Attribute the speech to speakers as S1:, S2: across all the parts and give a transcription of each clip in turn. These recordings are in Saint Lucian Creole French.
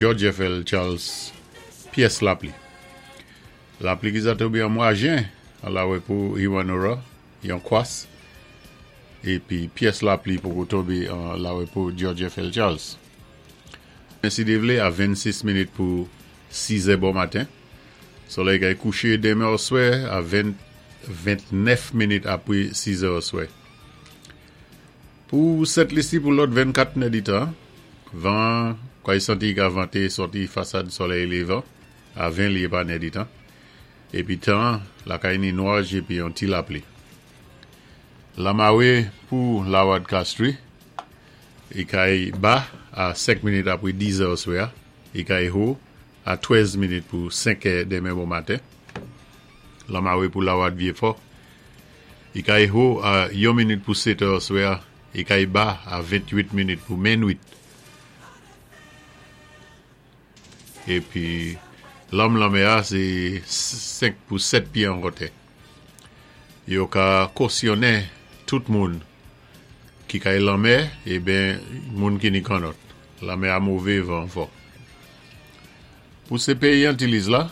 S1: George FL Charles pyès lapli. Lapli ki za tonbé an mwa jen an lawè pou Hewanorra, yon kwas, épi pyès lapli poko tonbé an lawè pou George FL Charles. Men si Dye vlé, a 26 minit pou 6 è bon maten, solèy kay kouché denmen oswè a 20 29 minit apwé 6 è oswè. Pou Sent Lisi pou lòt 24 nèditan, van an kay santi ka vante sòti fasad solèy levan a 20 lye pa nèditan, epi tan an lakay ni nwaj epi yon ti lapli. Lamare pou Lawad Castri, i kay ba a 5 minit apre 10 zè oswè a, i kay ho a 13 minit pou 5 è demen bon maten. Lamare pou Lawad Vyefò, I kay ho a yon minit pou setè oswè a, i kay ba a 28 minit pou menwit. Epi lanm lanmè a se 5 pou 7 pye an wotè. Yo ka kosyonnen tout moun ki kay lanmè e ben moun ki ni kannòt. Lanmè a move, van fò. Pou se peyi Antiliz la,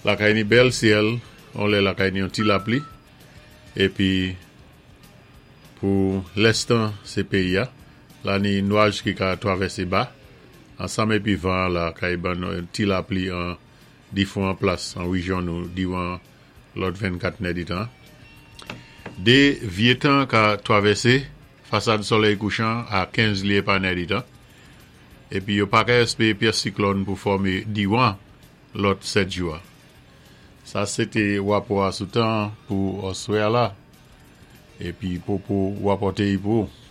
S1: lakay ni bèl syèl, on lè lakay ni yon ti lapli, epi pou lès tan se peyi a, la ni nwaj ki ka twavèse ba, ansanm epi van an la kay ban nou yon ti lapli an difwan plas an rejyon nou diwan lòt 24 nèditan. De vye tan ka twavèse fasad solèy kouchan a 15 lye pa nèditan. Epi yo pa ka espere pyès siklòn pou fòme diwan lòt 7 jou a. Sa se te wapò a sou tan an pou oswè a la. Epi Popo wapòte y pou ou.